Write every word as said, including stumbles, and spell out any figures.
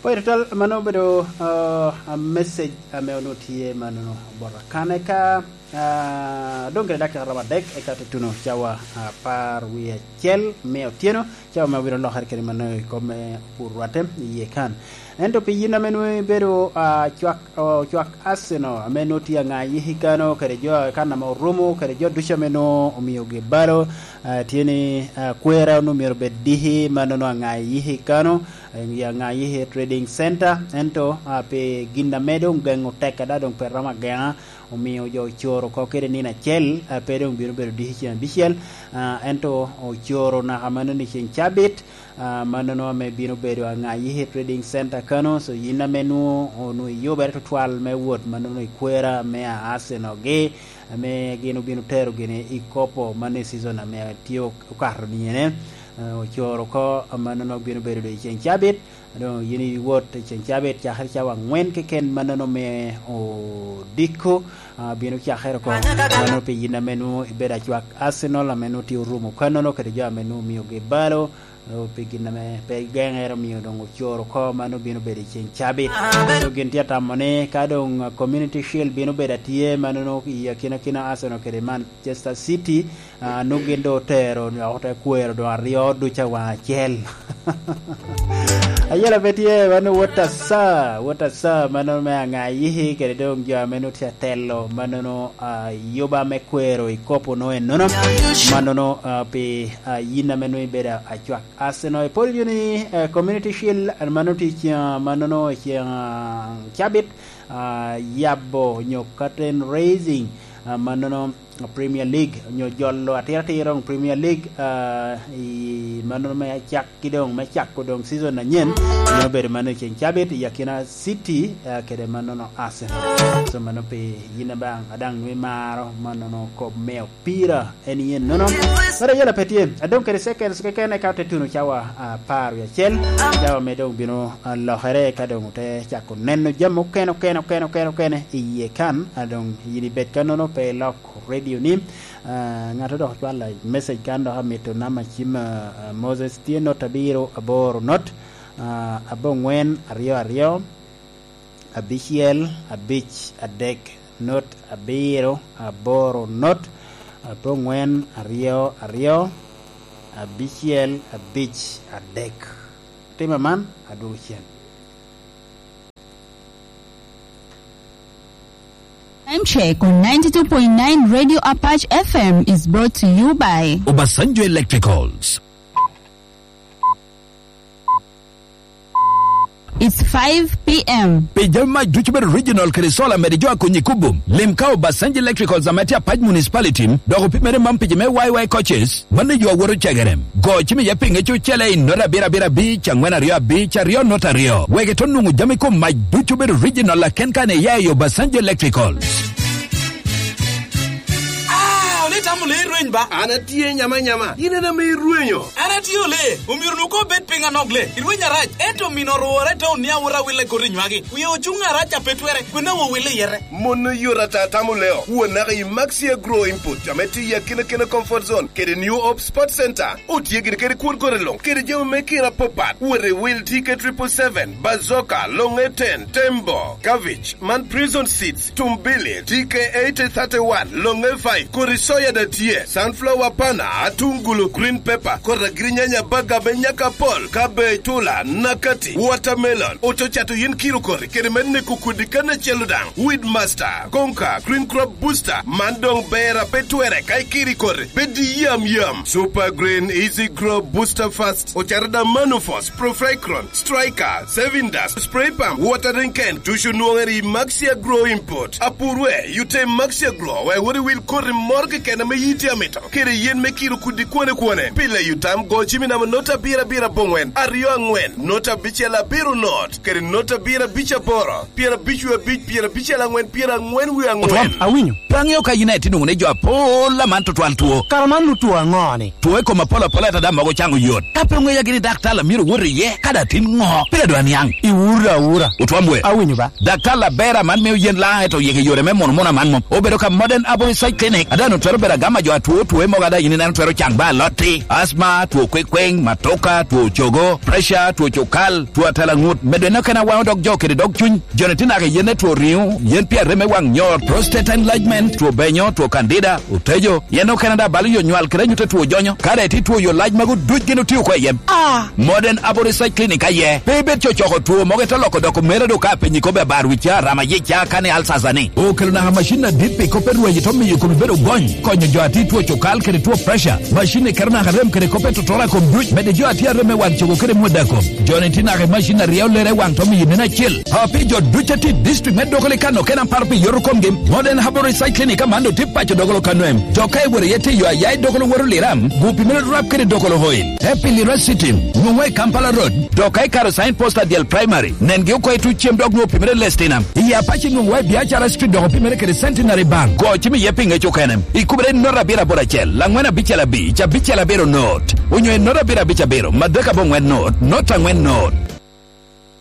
Pwod tutwal, mano obedo, ah, ah, message ame onwoŋo tye mano bota kan eka, ah, doŋ kede dakika romo adek eka tutuno cawa apar wie acel me otyeno, cawa ame obino lokere kede mano i kom me pur rwatte i yie kan. Ento pi yin ame nwoŋo ibedo, ah, cwak, ocwak Arsenal ame nwoŋo tye aŋa yiki kano kede jo kan ame orumo kede jo ducu ame nwoŋo omiogi balo, ah, tye ni, ah, kwera onwoŋo myero obed diki mano nwoŋo aŋa yiki kano, ya ŋa yiki Trading Center, ento, ah, pi gin ame doŋ geŋo tek ada doŋ pe romo ageŋa, omio jo ocoro oko kede nino acel, ah, pe doŋ bino bedo diki ceng abicel, ah, ento ocoro naka mano ni ceng cabit, ah, mano nwoŋo ame bino bedo aŋa yiki Trading Center kano, so yin ame nwoŋo, onwoŋo iyubere tutwal me wot mano nwoŋo ikwera me a Arsenal gi, ame gin obino tero gini i kopo mano i season ame tye okato ni ene, ah, ocoro oko mano nwoŋo bino bedo doŋ i ceng cabit, doŋ yin iwot i ceng cabit cakere cawa angwen keken mannono me odiko, ah, bino cakere oko. Mano pi yin ame nwoŋo ibedo acwak Arsenal ame nwoŋo tye orumo kannono kede jo ame nwoŋo omiogi balo, oh, pi gin ame pe igeŋere omio doŋ ocoro oko, mano bino bedo i ceng cabit. So gin tye atamo ni ka doŋ, ah, Community Shield bino bedo atye, mannono i akinakina Arsenal kede Manchester City, ah, nwoŋo gin doŋ otero, ote kwero doŋ aryo ducu awaŋ acel. Ayela pe tye, mano wot asa, wot asa, mano me aŋa yiki, kede doŋ jo ame nwoŋo tye atelo, mannono, ah, yuba me kwero i kopo no ennono, mannono, ah, pi, ah, yin ame nwoŋo ibedo acwak Arsenal. Ipol yo ni, eh, Community Shield, ah, mano tye ceŋ, ah, mannono ceŋ, ah, cabit, ah, yabo nyo curtain raising, ah, mannono Premier League, onyo jolo atiratir doŋ Premier League, ah, i mannono me acakki doŋ, me cako doŋ season anyen, bino bedo mano i ceng cabit i akina City, ah, kede mannono Arsenal. So mano pi yin ame daŋ nwoŋo imaro mannono kop me opira en yen nono. Kara yela pe tye, adong kede seconds keken eka ote tuno cawa apar wie acel, cawa me doŋ bino, ah, lokere ka doŋ ote cako neno jami okene, okene, okene, okene, okene i yie kan, ah, doŋ yin ibed kannono pe ilok radio ni. Ah, ŋat dok ocwalo message kan dok amito namba cim, ah, ah, Moses tye not abiro aboro not, ah, abongwen aryo aryo, abicel abic adek, not abiro aboro not, abongwen aryo aryo, abicel abic adek. Time man, adwogo cen. Time check on ninety-two point nine Radio Apache F M is brought to you by Obasanjo Electricals. It's five p.m. Pi jami mac ducu bedo original kede solar mede jo akonyi kubum. Lim ka Obasanjo Electricals ame tye Apac Municipality, dok opimere man pi jo me Y Y coaches, mano yo awoto cegere. Go cim iye pinge cucele i not abiro abiro abic, angwen aryo abic, aryo not aryo. Wek ito nwoŋo jami kom mac ducu bedo original aken kan iya i Obasanjo Electricals. Ah, ole tamo le rweny ba? An atye nyama nyama. In en ame irwenyo. An atye ole. Omyero nwoŋo obed piny anok le. Irweny arac. Ento mino orwore te onia wot awille koti nywagi. Wie ocuŋ arac a pe twere. Kwena wo wille yere. Mon oyot ata tamo leo. Wo naka i Maxia Grow Input, ame tye i akina kena comfort zone, kede New Hope Sports Center. Otye gini kede kwon kore luŋ, kede jami me kira apapat. Wot i wil T K triple seven, Bazooka, Longe ten, Tembo, Cabbage, man Prison Seeds, Tumbili, T K eighty thirty-one, Longe five, kodi soya da tye, sunflower pana, atungulu, green pepper, kodi agirinyanya, baga me nyaka pol, cabbage, tula, nakati, watermelon, oto cato yen kiro kori, kede me neko kodi kan acel daŋ, Weed Master, Konka, Green Crop Booster, man doŋ ber a pe twere ka ikiri koti, bed i yam yam. Super Green Easy Grow Booster Fast, ocato da Manufos, Profecron, Striker, Saving Dust, Spray Pump, Watering Can, ducu nwoŋere i Maxia Grow Import. Apurwe, yute Maxia Grow, wek wot i wil koti moro keken ame yiti amito, kede yen me kiro kudi kwone kwone. Pile yutam go cimi namo nota abiro abiro abongwen, aryo angwen, nota abicel abiro not, kede nota abiro abic aboro, pyerabic wie abic, pyerabicel angwen, pyerangwen wie angwen. Otwam, awinyo. Pe aŋeo ka yin aye tye nwoŋo ni jo apol aman tutwal two. Kara man lut two aŋo ni? Two i kom apol apol ata daŋ mogo caŋo yot. Ka pe oŋeya gini daktar a myero wot iye, ka daŋ tin ŋo? Pire dwa niaŋ. Iwura awura. Otwam wer. Awinyo ba. Daktar Labera man mio yen laŋ eto yeke yore me mono mono aman mom. Obedo ka Modern Herbal Research Clinic. Ada no twero bedo agama jo atwo Two mogo ada yin ineno twero caŋ ba alotti, asma, two kwekweŋ, matoka, two cogo, preca, two cukal, two atalaŋut, medo en okene awaŋo dog jo kede dog cuny, joni tye naka i yene two riŋo, yen pia reme waŋ nyor, prostate enlargement, two benyo, two kandida, otejo, yen okene da balo yo nywal kede anyutte two jonyo, ka daŋ itye two yo lac mago duc gin otio oko i yem. Ah! Modern Aboric Research Clinic aye, pe ibed cocoko two mogo ite loko dok omere do ka apenyi kobbe abar wicca, rama yica, kani alsasa ni. Okelo naka macin adit pi kop erwaci to miyo kome bedo gony, konyo jo atir two cukal kede two pressure. Macin ni keto naka rem kede kop etotoro a kom duc, medo jo atir arem me wan cogo kede mwada kom. Joni tye naka i macin a ryeo lere i waŋ to miyo neno acel. A pi jo duc a tye i district me Dokoli kano kena paro pi yoto komgi, Modern Herbal Research Clinic aman do tye paco Dokolo kano em. Jo ka iwero iye tye yo aya i Dokolo woto Liram, gu pi mere rap kede Dokolo oil. Epiliracetine, nwoŋo i Kampala Road, dok ka ikaro sign post adyel primary, nengi oko i tuc cem dok nwoŋo pimere lestina. I Apac inwoŋo wa i Biacara Street dok opimere kede Centenary Bank. Go cim iye pi ŋec okene. Ikubere i note abiro aboro acel, laŋwen abicel abic, abicel abiro note. Onyo i note abiro abic abiro, madek aboŋwen note, note aŋwen note.